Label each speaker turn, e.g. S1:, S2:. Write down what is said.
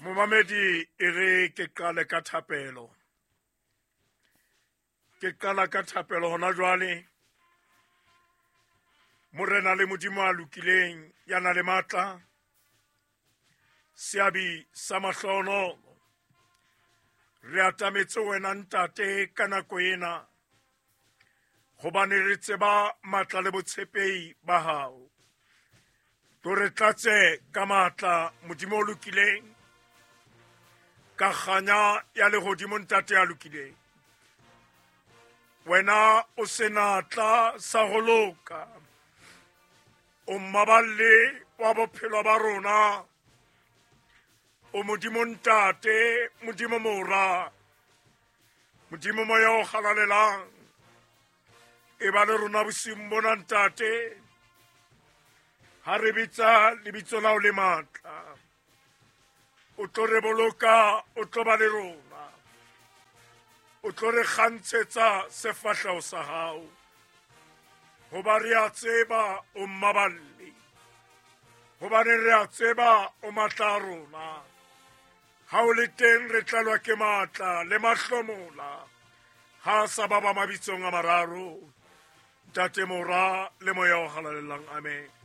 S1: Momamedi, e re ke qale ka thapelo. Ke qala ka thapelo hona jwale. Morena le Modimo a lokileng, ya na le matla, seabi sa mahlohonolo, re atametse wena ntate ka nako ena, hobane re tseba matla le botshepehi ba hao. To re tlatse ka matla, Modimo o lokileng, ka kganya ya lehodimo, ntate ya lokileng. Wena o senatla sa ho loka, o mmaballi wa bophelo ba rona, o Modimo ntate, Modimo mora, Modimo moya o halalelang. E ba le rona bosiung bona ntate, ha re bitsa lebitso la o le matla, o tlo re boloka, o tlo ba le rona, o tlo re kgantshetsa sefahleho sa hao, hoba re a tseba o mmaballi, hobane re a tseba o matla a rona. Ha o le teng re tlalwa ke matla le mahlomola, ha sa ba ba mabitsong a mararo, ntate, mora le moya o halalelang. Amen.